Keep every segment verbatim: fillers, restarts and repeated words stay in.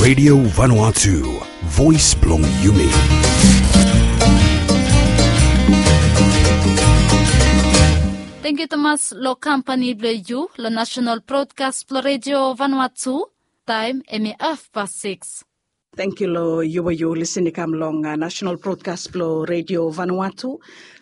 Radio Vanuatu, voice blong yumi. Thank you, Thomas, lo kampani blo yu lo national broadcast blo Radio Vanuatu. Taem hemi half past six. Thank you lo yu we yu listen i kam long national broadcast blo Radio Vanuatu.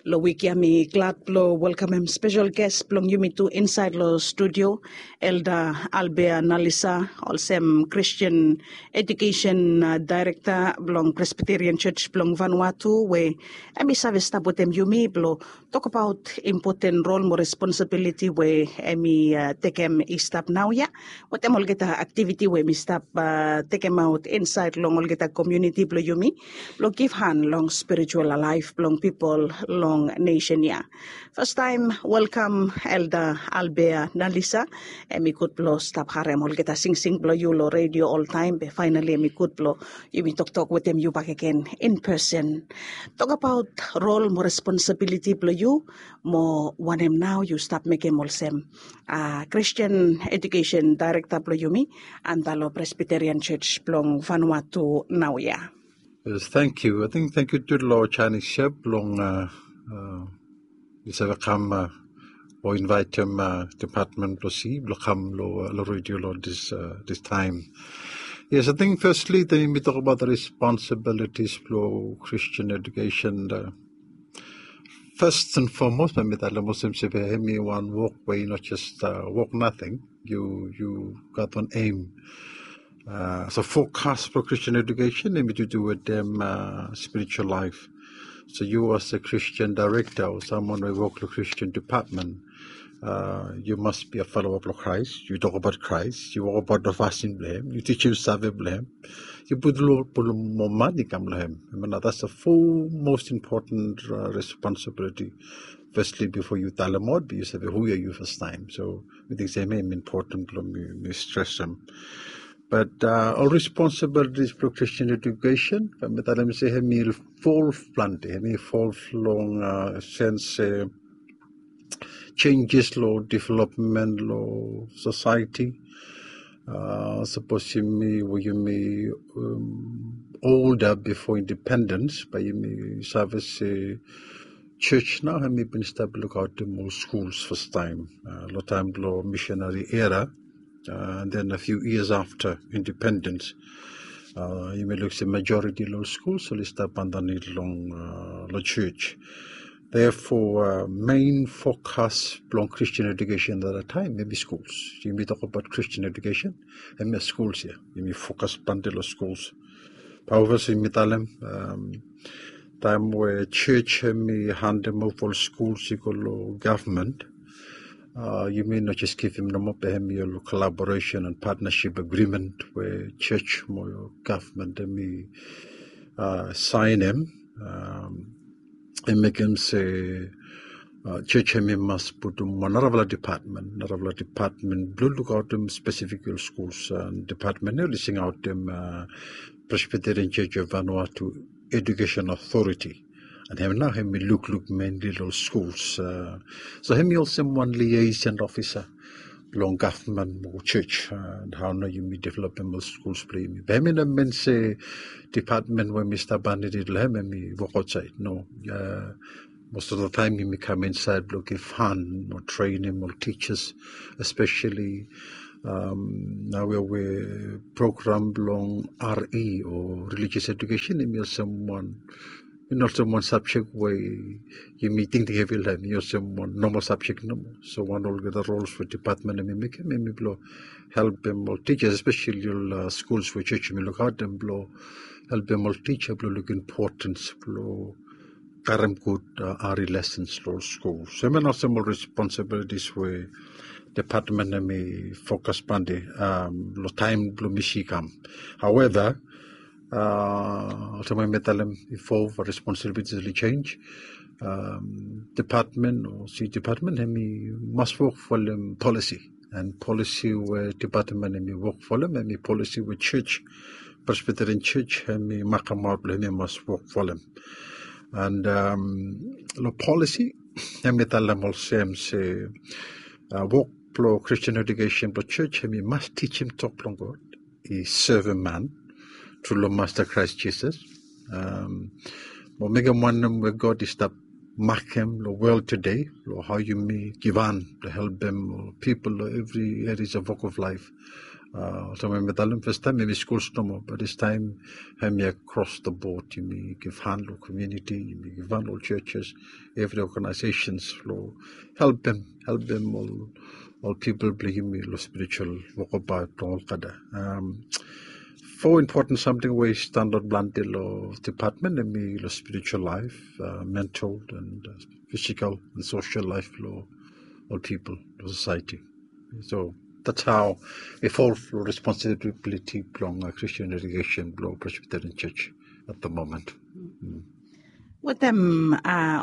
Lo wik ya mi glad blo welkamem spesel ges blong yumi tu insaed lo studio, Elder Albea Nalisa, olsem Christian Education Director blong Presbyterian Church blong Vanuatu, we hemi save stap wetem yumi blo tokbaot impoten rol mo responsibiliti we hemi tekem i stap naoia, wetem olgeta aktiviti we hemi stap tekemaot insaed long olgeta komuniti blo yumi, blo givhan long spiritual laef blong pipol long nesen ya. Fastaem welkam Elder Albea Nalisa. Hemi gud blo stap harem olgeta singsing blo yu lo radio oltaem, be faenali hemi gud blo yumi toktok wetem yu bakegen in pesen. Tokbaot rol mo responsibiliti blo yu, mo wanem nao yu stap mekem olsem Christian Education Director blo yumi antap lo Presbyterian Church blong Vanuatu naoia. Yes, thank you. I think thank you tu lo Chinese Chef blong yu save kam o invaetem department blo si blo kam lo radio lo this time. Yes, I think firstly then mi tokbaot the responsibilities blo Christian education. First and foremost, mi talem olsem se hemi wan wok we i no jes wok nating. Yu gat wan aim. So fokas blo Christian education hemi tu tu wetem spiritual laef. So yu as a Christian director o samwan we i wok lo Christian department, yu mas bi a faloa blo Kraes. Yu tokbaot Kraes, yu wokbaot lo fasin blo hem, yu tijim save blo hem, yu putum lo putum moa mane i kam lo hem. Hemia nao that's the four most important responsibility. Firstly bifo yu talemaot be yu save hu ya yu fastaem. So mi ting se hemia hemi impoten blo mi stresem. But ol responsibilities blo Christian education, mi talem se hemi fol plante, hemi fol long sens se jenjes lo developmen lo sosaeti. Sapos yumi we yumi olda bifo independens bae yumi save se jos nao hemi bin stap lukaotem ol skuls fastaem lo taem blo misinari era. And then a few years after independens, yumi luk se majoriti lo skuls oli stap andanit long lo jos. Therefore mein fokas blong Christian education at that time hemi skuls. Yumi tokbaot Christian education, hemia skuls ya. Yumi fokas plante lo skuls. Bae olsem mi talem, taem we jos hemi handem ova ol skuls i go lo gavman, yumi no jes givim nomo, be hemi ol kolaboresen and patnasip agrimen we jos mo gavman hemi saenem. I mekem se jos hemi mas putum wan narafala depatmen, narafala depatmen blo lukaotem spesifik ol skuls. And depatmen ya oli singaotem Presbyterian Church of Vanuatu Education Authority. And hem nao hemi lukluk menli lo skuls. So hemi olsem wan liaison ofisa blong gavman mo jos, and hao nao yumi developem ol skuls blo yumi. Be hemi no min se depatmen we mi stap andanit lo hem hemi wok aotsaed, no. Most of the taem yumi kam insaed blo givhan mo trenem ol tijas, espeseli naoia we program blong R E o religious education hemi olsem wan, i no olsem wan sabjek we yumi tingting hevi lo hem. I olsem wan nomal sabjek nomo. So wan olgeta rols we depatmen hemi mekem hemi blo helpem ol tijas, espeseli ol skuls we jos hemi lukaotem, blo helpem ol tija blo luk impotens blo karem gud R E lesens lo ol skuls. So hemia nao olsem ol responsibilities we depatmen hemi fokas plante lo taem blo mi si kam. However, olsem we mi talem bifo, responsibilities oli jenis. Depatmen o si depatmen hemi mas wok folem polisi. And polisi we depatmen hemi wok folem hemi polisi we jos, Presbyterian Jos hemi makemaot blo hemi mas wok folem. And lo polisi hemi talem olsem se wok blo Christian education blo jos hemi mas tijim tok blong God, i sevem man. tru long Masta Krais Jisas. Mo mekem wanem we God i stap makem long wol tede, long hao yumi givhan blong helpem ol pipol long evri areas of walk of life. Olsem we mi talem, fastaem hemi skuls nomo, bat distaem hemi across the board. Yumi givhan long komuniti, yumi givhan long churches, evri organizations long helpem, helpem ol ol pipol blong yumi long spiritual wokabaot blong olgeta. Fo impoten samting we i standaot plante long dipatmen hemi long spiritual laef, mental and fisikal and sosel laef blong ol pipol long sosaeti. So that's how i fol long responsibiliti blong Christian education blong Presbyterian Church at the moment. Wetem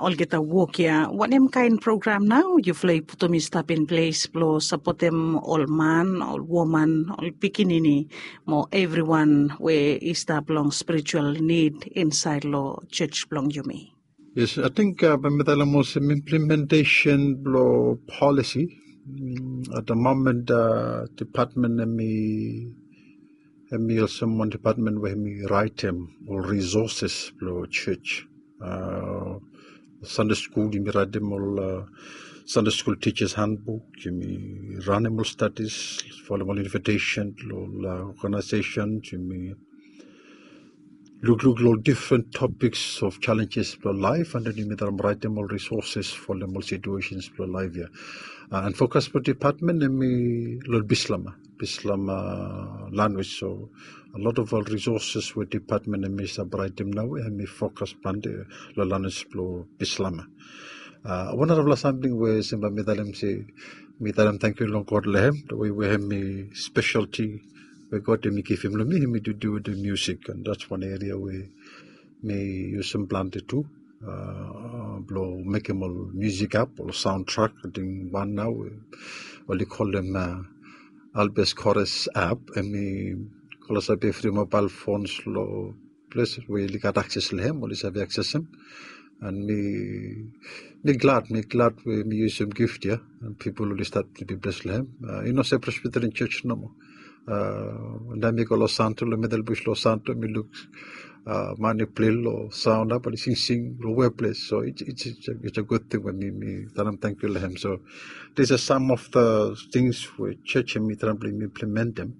olgeta wok ya, wanem kaen program nao yufala i putum i stap in ples blong sapotem ol man, ol woman, ol pikinini mo evriwan we i stap long spiritual nid insaed long church blong yumi? Yes, ating bae mi talem olsem implementation blong polisi. At the moment dipatmen hemi hemi olsem wan dipatmen we hemi raetem ol risoses blong church. Sande skul yumi raetem ol Sande skul tijas handbuk, yumi ranem ol stadis, folem ol invitesen long ol organization, yumi lukluk long ol difren topiks of challenges blong laef, and then yumi traem raetem ol risoses folem ol situesens blong laef ya. And fokas blong dipatmen hemi long Bislama, Bislama lanwis. So a lot of ol risoses we dipatmen hemi save raetem naoia hemi fokas plante long lanwis blong Bislama. Wan narafala samting we olsem bae mi talem se mi talem tangkiu long God long hem, we hemi spesialti we God hemi givim long mi, hemi to do wetem musik, and that's wan eria we mi yusum plante tu blong mekem ol musik app, ol soundtrack. Ating wan nao oli kolem Albes Chorus app, hemi klosap evri mobael fons long ples we oli gat akses long hem, oli save aksesem. And mi mi glad, mi glad we mi yusum gift ya, and pipol oli stap to be bles long hem. I no se Presbyterian Church nomo. Taem mi go long Santo, long Medelbus long Santo, mi luk man i plei long saon, bae oli singsing long weples. So it's a good thing we mi mi talem tangkiu long hem. So these are some of the things we church hemi traem blong implementem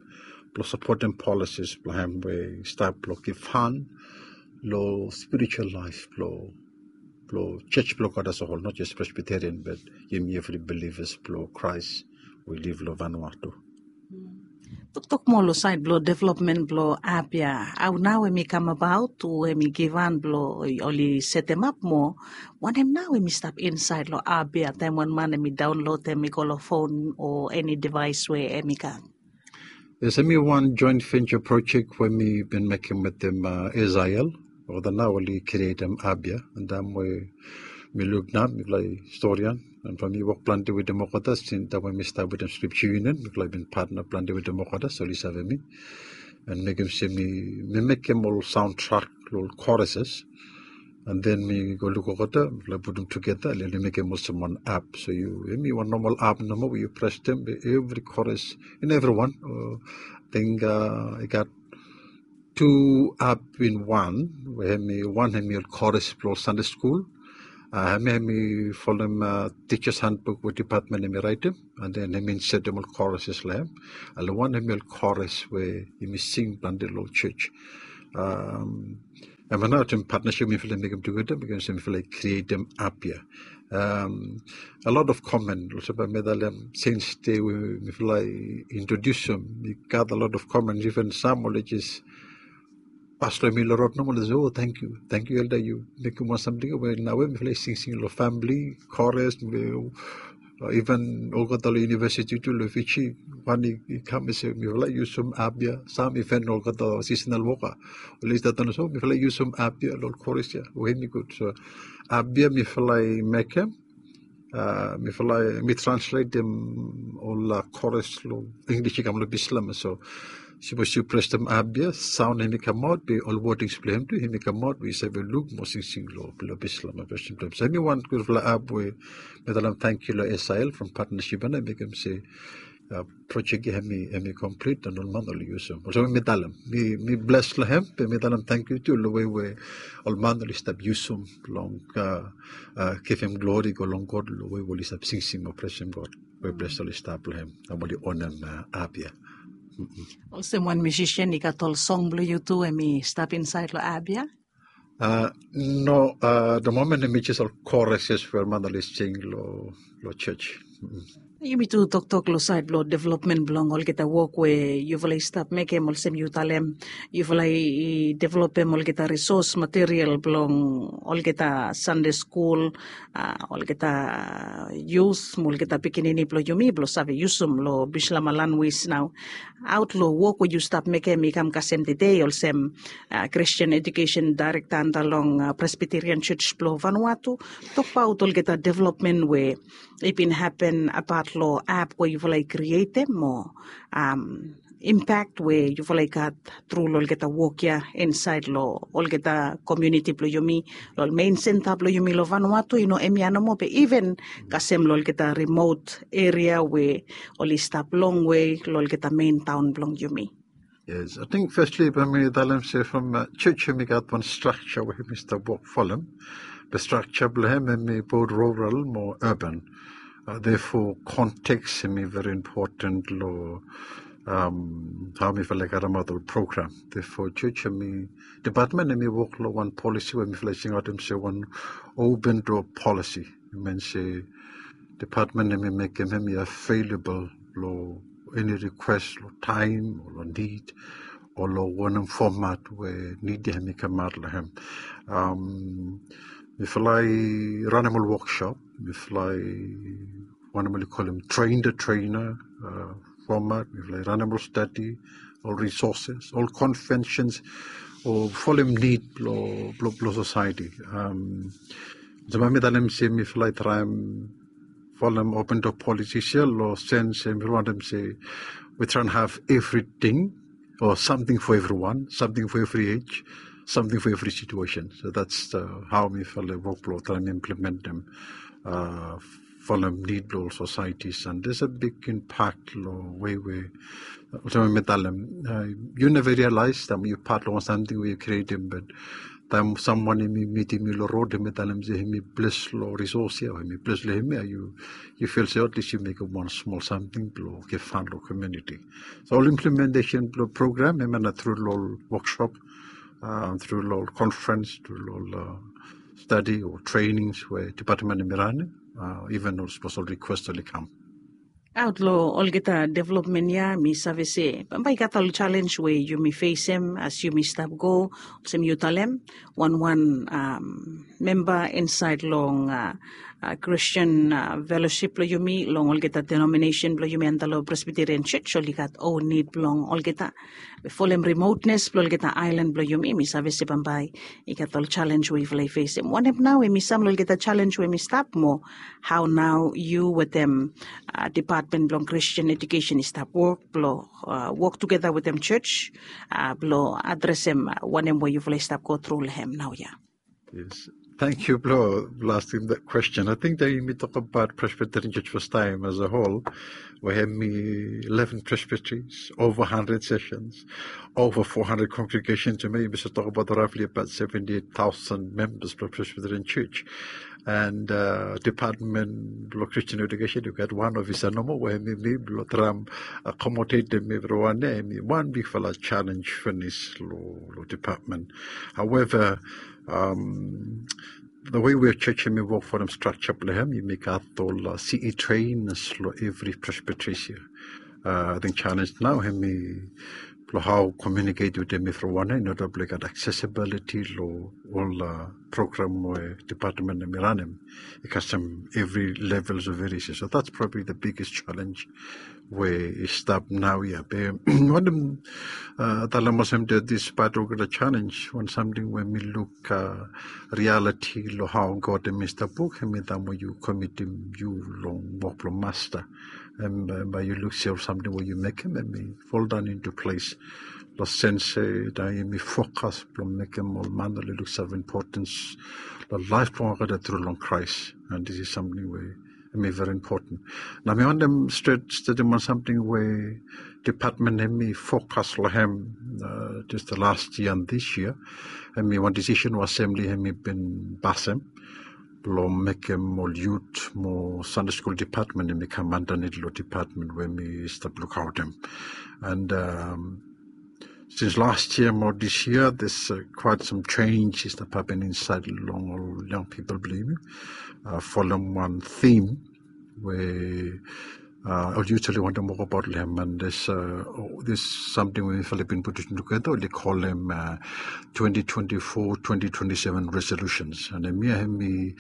blong sapotem policies blong hem we i stap blong givhan long spiritual laef blong blong church blong God as a whole, not just Presbyterian, but yumi evri bilivas blong Krais we liv long Vanuatu. Toktok moa long saed blong developmen blong app ya. Hao nao hemi kamabaot, hu hemi givhan blong oli setemap mo wanem nao hemi stap insaed long app ya taem wan man hemi daonlodem i go long fon o eni devaes we hemi gat? Yes, hemi wan joint venture project we mi bin mekem wetem SIL. Olgeta nao oli krietem app ya, and taem we mi luk nao, mifala i storian, and from mi wok plante wetem olgeta since taem we mi stap wetem Scripture Union, mifala i bin patna plante wetem olgeta, so oli save mi. And mekem se mi mi mekem ol soundtrack long ol choruses, and then mi go luk olgeta, mifala putum tugeta, oli mekem olsem wan app. So yu, hemi wan nomal app nomo we yu presem, evri chorus in evriwan. Ating i gat tu app in wan, we hemi wan hemi ol chorus blong ol Sande skul. Hemi hemi folem Teacher's Handbook we dipatmen hemi raetem, and then hemi insetem ol choruses long hem. And long wan hemi ol chorus we yumi sing plante long church. Hemia nao wetem patnasip mifala i mekem tugeta, mekem se mifala i krietem app ya. A lot of comment, olsem bae mi talem, since dei we mifala i introdiusum, mi gat a lot of comment, iven sam oli jes pas long mi long rod nomo, oli se, "O, tangkiu, tangkiu Elda, yu mekem wan samting we naoia mifala i singsing long famili, chorus, iven olgeta long univesiti tu long Fiji, wan i kam i se mifala i yusum app ya." Sam iven olgeta seasonal woka oli stap talem se, "O, mifala i yusum app ya long ol chorus ya, we hemi gud." So app ya mifala i mekem, mifala i, mi transletem ol chorus long English i kam long Bislama. So sipos yu presem app ya, saon hemi kamaot, be ol wordings blong hem tu hemi kamaot, we yu save luk mo singsing long Bislama veshen blong hem. So hemi wan gudfala app we mi talem tangkiu long SIL from patnasip ya, mekem se projek ya hemi hemi komplit, and ol man oli yusum. Olsem mi talem, mi mi bles long hem, be mi talem tangkiu tu long wei we ol man oli stap yusum blong givim glori go long God long wei we oli stap singsing mo blesem God. We bles oli stap long hem, na oli onem ap ya. Olsem wan musician i gat ol song blong yu tu em i stap insait long ap ya? No, the moment em i jes ol chorus we ol man oli sing long long church. Yumi tu toktok long sait blong developmen blong olgeta wok we yufala i stap mekem, olsem yu talem yufala i developem olgeta resource material blong olgeta Sunday school, olgeta youth mo olgeta pikinini blong yumi blong save yusum long bislama lanwis nao. Aot long wok we yu stap mekem i kam kasem tede olsem Christian Education Director anda long Presbyterian Church blong Vanuatu, tokbaot olgeta developmen we i bin hapen apat long ap we yufala i krietem mo impact we yufala i gat tru long olgeta wok ya insait long olgeta komuniti blong yumi, long ol mein senta blong yumi long Vanuatu, i no hemia nomo be even kasem long olgeta remote eria we oli stap longwe long olgeta mein taon blong yumi. Yes, ating festli bae mi talem se from church hemi gat wan structure we hemi stap wok folem. Be structure blong hem hemi both rural mo urban. Therefore context hemi very important long hao mifala i karemaot ol program. Therefore church hemi department hemi wok long wan policy we mifala i singaotem se wan open door policy. I min se department hemi mekem hemi available long eni request long taem o long nid o long wanem format we nid ya hemi kamaot long hem. Mifala i ranem ol workshop, mifala i wanem oli kolem train the trainer format, mifala i ranem ol stadi, ol resources, ol conventions o folem nid blong blong blong society. Olsem mi talem se mifala i traem folem open door policies ya long sense se mifala wantem se we traem have everything or something for everyone, something for every age, something for every situation. So that's hao mifala i wok blong traem implementem folem nid blong ol societies, and there's a big impact long wei we olsem mi talem, yu neva realize taem yu pat long wan samting we yu krietem, but taem samwan hemi mitim yu long rod hemi talem se hemi bles long resource ya o hemi bles long hemia, yu feel se at least yu mekem wan smol samting blong givhan long komuniti. So ol implementation blong program hemia na tru long ol workshop, tru long ol conference, tru long ol stadi o trainings we department hemi ranem, even ol sapos ol request oli kam. Aot long olgeta developmen ya mi save se bambae i gat ol challenge we yumi fesem as yumi stap go, olsem yu talem wanwan memba insait long Christian fellowship blong yumi long olgeta denomination blong yumi anda long Presbyterian Church oli gat own nid blong olgeta. Be folem remoteness blong olgeta aelan blong yumi, mi save se bambae i gat ol challenge we yufala i fesem. Wanem nao hemi sam long olgeta challenge we hemi stap mo hao nao yu wetem department blong Christian Education i stap wok blong wok tugeta wetem church blong adresem wanem we yufala i stap go tru long hem naoia? Yes. Tangkiu blong askem that question. Ating taem yumi tokbaot Presbyterian Church fastaem as a whole we hemi eleven presbyteries, ova handred sessions, ova fo handred congregations, yumi save tokbaot roughly abaot seventi eit taosen membas blong Presbyterian Church. And department blong Christian Education i gat wan ofisa nomo we hemi mi blong traem akomodetem evriwan ya, hemi wan bigfala challenge finis long department. However, the way we church hemi wok folem structure blong hem, yumi gat ol CE trainers long evri presbyteries ya. Ating challenge nao hemi blong hao communicate wetem evriwan ya in order blong i gat accessibility long ol program we department hemi ranem i kasem evri levels of various. So that's probably the biggest challenge we i stap naoia. Be wanem talem olsem that despite olgeta challenge, wan samting we mi luk reality long hao God hemi stap wok hemi taem we yu komitim yu long wok blong Masta. Bae yu luk se ol samting we yu mekem hemi foldaon into ples. Long sense se taem yumi fokas blong mekem ol man oli luksave impotens long laef blong olgeta tru long Kraes. And this is samting we Hemi very important. Nao mi wantem stret, stret wan samting we department hemi fokas long hem, uh, just the last year and this year. Hemi wan decision we assembly hemi bin pasem blong mekem ol youth mo Sunday school department hemi kam andanit long department we mi stap lukaotem. And um, since last year mo this year, there's uh, quite some change i stap hapen insaed long ol young people blong yumi. Uh, folem wan theme we uh, ol youth oli wantem wokbaot long hem, and there's, uh, oh, there's something we mifala bin putum tugeta, oli kolem uh, twenty twenty-four, twenty twenty-seven resolutions. And hemia hemi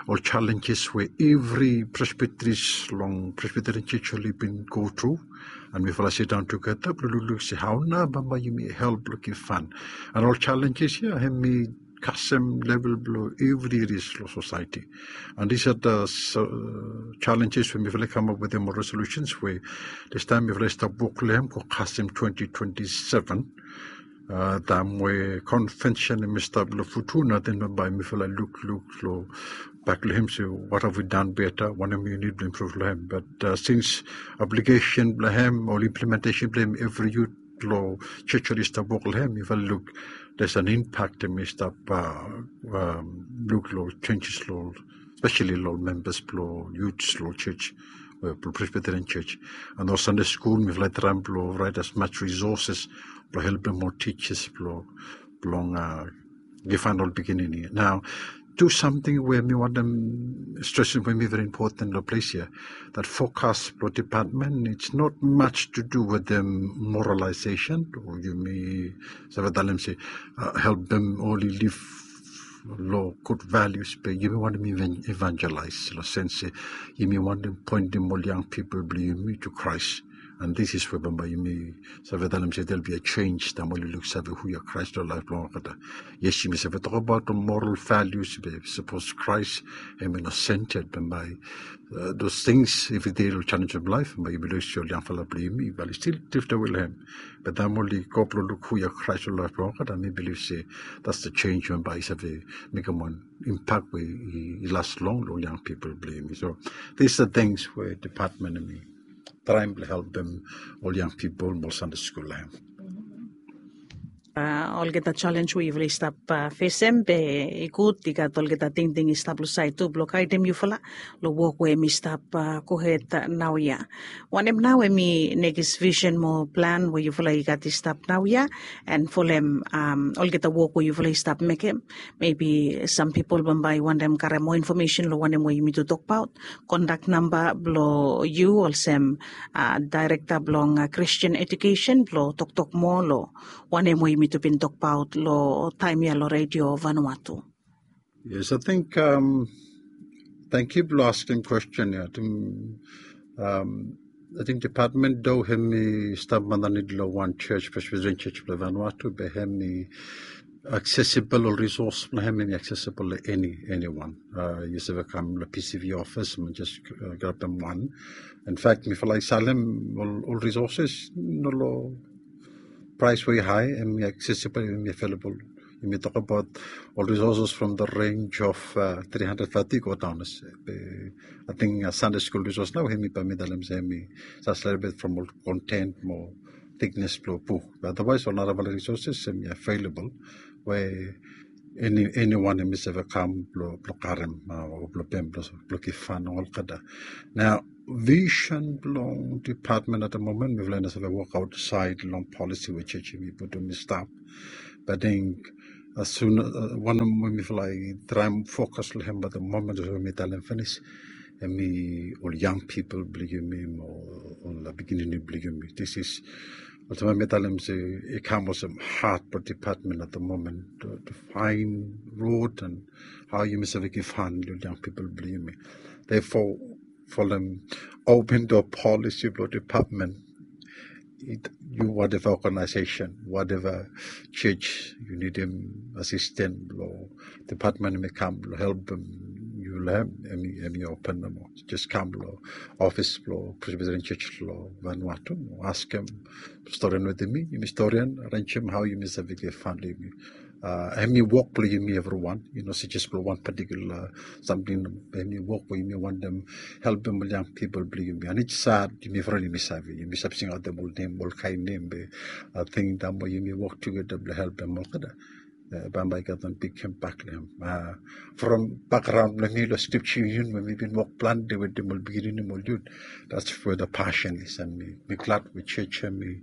ol challenges we evri presbyteries long Presbyterian Church oli bin go through. And mifala sidaon tugeta blong lukluk se hao nao bambae yumi help blong givhan. And ol challenges ia hemi kasem level blong evri areas long society. And these are the uh, challenges we mifala kamap wetem ol resolutions we distaem mifala stap wok long hem go kasem twenty twenty-seven. Uh, taem we convention hemi stap long Futuna, then bambae mifala lukluk long bak long hem se what have we done better, wanem yumi nid blong improve long hem. But uh, since application blong hem o implementation blong hem evri youth long church oli stap wok long hem, mifala luk there's an impact hemi stap uh, um, luk long changes long, especially long members blong youths long church, uh, blong Presbyterian Church. And ol Sunday school mifala traem blong write as much resources blong helpem ol teachers blong, blong uh, givhan ol pikinini. Nao tu samting we mi wantem stresem we hemi very important long ples ia, that fokas blong department, it's not much to do with the moralization o yumi save talem se uh, helpem oli liv long gud values, be yumi wantem evangelize long sense se yumi wantem poentem ol young people blong yumi to Christ. And this is where bambae yumi save talem se there'll be a change taem oli luksave hu ia Christ long laef blong olgeta. Yes, yumi save tokbaot ol moral values, be sapos Christ hemi no centered, bambae uh, those things evri dei long challenge of life, bambae yumi luksave ol yangfala blong yumi bambae oli stil drifted away long hem. Be taem oli go blong luk hu ia Christ long laef blong olgeta, mi bilif se that's the change bambae i save mekem wan impact we i las long long young people blong yumi. So these are things we department hemi traem blong helpem ol young people mo ol Sunday school long hem. Uh, olgeta challenge we yufala i stap uh, fesem, be i gud i gat olgeta tingting i stap long saed tu blong gaedem yufala long wok we hemi stap uh, gohed uh, naoia. Wanem nao hemi nekis vision mo plan we yufala i gat i stap naoia, and folem um, olgeta wok we yufala i stap mekem? Maybe some people bambae i wantem karem moa information long wanem we yumi tu tokbaot. Kontak namba blong yu olsem uh, Director blong uh, Christian Education blong toktok moa long wanem we yumi tu bin tokbaot long taem ia long Radio Vanuatu. Yes, I think um, thank you blong askem kwestin ia. Ating um, ating department do hemi stap andanit long wan church, Presbyterian Church blong Vanuatu, be hemi accessible, ol resource blong hem hemi accessible long eni, eniwan. Uh, yu save kam long P C V office mo just uh, grabem wan. In fact mifala i salem ol, ol resources, no long price we i hae, hemi accessible, hemi available. Yumi tokbaot ol resources from the range of uh, three hundred thirty go down. Ating uh, Sunday school resource nao hemi bambae mi talem se hemi save slightly bit from ol content mo thickness blong buk. But otherwise ol narafala resources hemi available we eni, eniwan hemi save kam blong, blong karem uh, o blong pem blong, blong givhan olgeta. Nao vision blong department at the moment mifala i no save wok aotsaed long policy we church hemi putum i stap. But ating uh, sun uh, wanem we mifala i traem fokas long hem at the moment olsem we mi talem finis, hemi ol young people blong yumi mo ol pikinini blong yumi. This is olsem mi talem se i kam olsem heart blong department at the moment to, to find road and hao yumi save givhan long young people blong yumi. Therefore folem open door policy blong department. Yu whatever organization, whatever church yu nidim assistant blong department hemi kam blong helpem yu long hem, hemi open nomo. Just kam long office blong Presbyterian Church long Vanuatu mo askem storian wetem mi, yumi storian, arenjem hao yumi save givhan long yumi. Hemi wok blong yumi evriwan, i no se jes blong wan patikula samting. Hemi wok we yumi wantem helpem ol yang pipol blong yumi. And it's sad, yumi evriwan yumi save, yumi save singaotem ol nem, ol kaen nem be ating taem we yumi wok tugeta blong helpem olgeta, bambae i gat wan big impact long hem. From background blong mi long Scripture Union we mi bin wok plante wetem ol pikinini mo ol yut. That's where the passion is, and mi glad we church hemi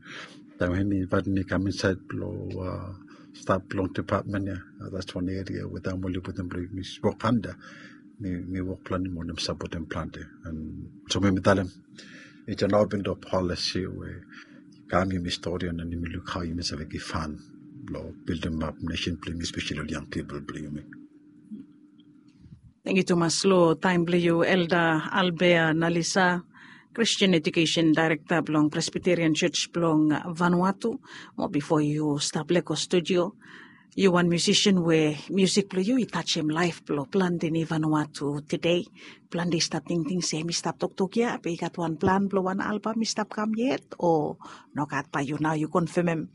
taem hemi invaetem mi kam insaed blong stap long department ya. That's wan eria we taem oli putum blong mi wok anda, mi wok plante mo oli sapotem plante. And so mi talem, it's an open door policy we kam yumi stap on and yumi luk hao yumi save givhan blong bildimap nesen blong yumi, especially ol yang pipol blong yumi. Tangkiu tumas long taem blong yu, Elder Albert Nalisa, Christian Education Director blong Presbyterian Church blong Vanuatu. Mo bifo yu stap lego studio, yu wan musician we musik blong yu i tajem laef blong plante ni Vanuatu tede. Plante i stap tingting se mi stap toktok ya be i gat wan plan blong wan album i stap kam yet o nogat? Bae yu nao yu konfemem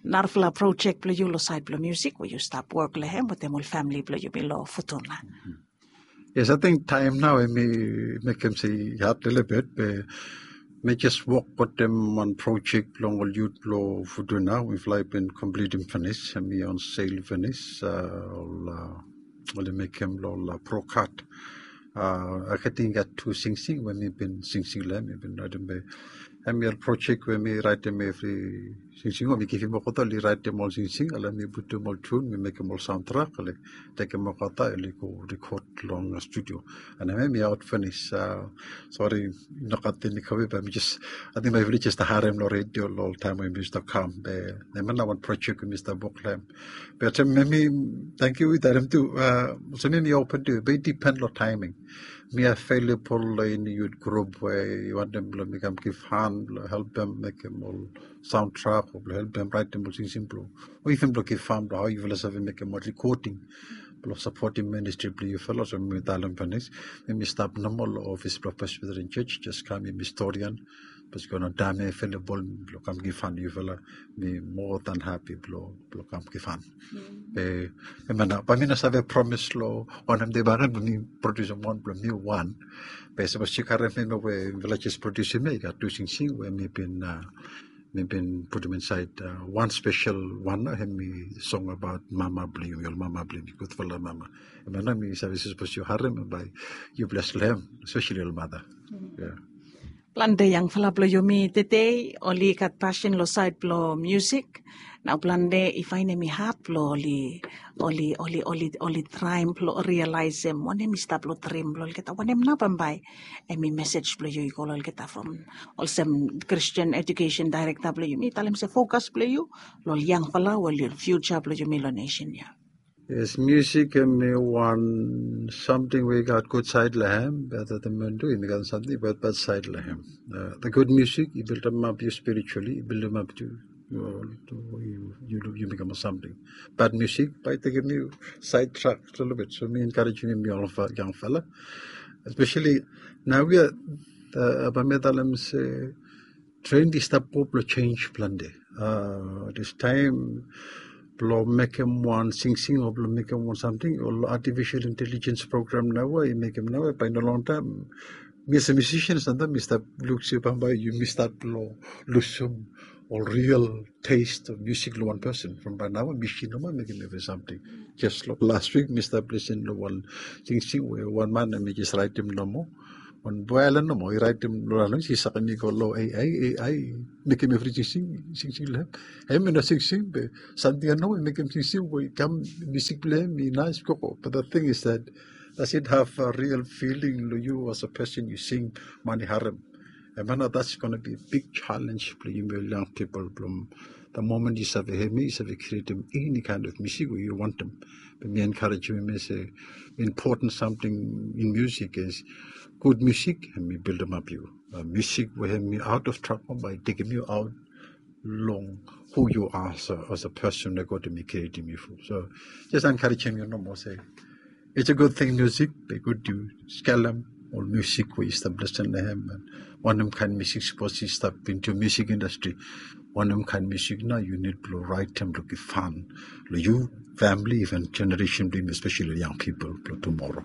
narafala projek blong yu long saed blong musik we yu stap wok long hem wetem ol famili blong yumi long Futuna. Yes, ating taem nao hemi mekem se i had lelebet be mi jes wok wetem wan projek blong ol yut blong Futuna. Mifala i bin komplitim finis, hemi on sel finis. Oli mekem long ol brokat. Ating i gat tu singsing we mi bin singsing long hem, mi bin raetem be hemi ol projek we mi raetem evri singsing we mi givim olgeta oli raetem ol singsing, ale mi putum ol tun, mi mekem ol saon trak, ale tekem olgeta oli go rekod long studio. And hemi aot finis. Sori, i nogat eni kove be mi jes, ating bae yufala jes stap harem long redio long ol taem we mi stap kam be hemia nao wan projek we mi stap wok long hem. Be olsem hemi, tangkiu i talem tu, olsem hemi open tu, be i dipen long taeming. Mi avelebol long eni yut grup we i wantem blong mi kam givhan blong helpem mekem ol saon trak o blong helpem raetem ol singsing blong, o iven blong givhan blong hao yufala save mekem ol rekoding blong sapotem ministri blong yufala. So mi talem finis, mi stap nomo long ofis blong Presbyterian Church, jes kam, mi stori an. Bikos i gat wan taem avelebol blong kam givhan long yufala, mi moa dan hapi blong kam givhan. Be hemia nao, bae mi no save promis long wanem dei bakegen blong mi produsim wan blong mi wan. Be sapos yu karem hemia we mifala jes produsim ya, i gat tu singsing we mi bin, mi bin putum insaed wan spesel wan nao, hemi song abaot mama blong yumi, ol mama blong yumi, gudfala mama. Hemia nao mi save se sapos yu harem bae yu bles long hem, espeseli ol mata. Plante yangfala blong yumi tede oli gat pasin long saed blong musik. Nao plante i faenem i had blong oli, oli, oli, oli traem blong rialaesem wanem i stap long drim blong olgeta. Wanem nao bambae hemi mesej blong yu i go long olgeta from olsem Christian Education Director blong yumi, talem se fokas blong yu long ol yangfala o ol fiuja blong yumi long nesen ya? Yes, musik hemi wan samting we i gat gud saed long hem, be olgeta man tu hemi gat samting we i gat bad saed long hem. The good music i bildimap yu spiritually, i bildimap yu, yu mekem ol samting. Bad musik bae i tekem yu saed trak lelebet. So mi enkarejem yumi ol yangfala, espeseli naoia, bae mi talem se trend i stap go blong jenis plante. Distaem blong mekem wan singsing o blong mekem wan samting, ol artificial intelligence program naoia i mekem naoia, bae long longtaem mi olsem musician samtaem mi stap luk se bambae yumi stat blong lusum ol real taste of music long wan person. From bae naoia misin nomo i mekem evri samting. Jes long las wik mi stap lisin long wan singsing we wan man hemi jes raetem nomo, wan boe aelan nomo i raetem long las wik, i sakem i go long A I, A I i mekem evri singsing, singsing long hem. Hem i no singsing be samting ya nomo i mekem singsing we i kam, musik blong hem i naes gogo. But the thing is that, does it have a real feeling long yu as a person yu sing, man i harem? Hemia nao that's gonna be a big challenge blong yumi ol yang pipol blong the moment yu save hem ya yu save krietem eni kaen of musik we yu wantem. Be mi enkarejem yumi se important samting in musik is gud musik hemi bildimap yu. Musik we hemi aot of trak bae i tekem yu aot long hu yu are as a person we God hemi krietem yu from. So jes enkarejem yu nomo se it's a good thing musik, be gud yu skelem ol musik we i stap lesen long hem, and wanem kain musik sapos i stap into music industry. Wanem kain musik nao yu nid blong raetem blong givhan long yu, famili, even generation blong yumi, especially long young people blong tomorrow.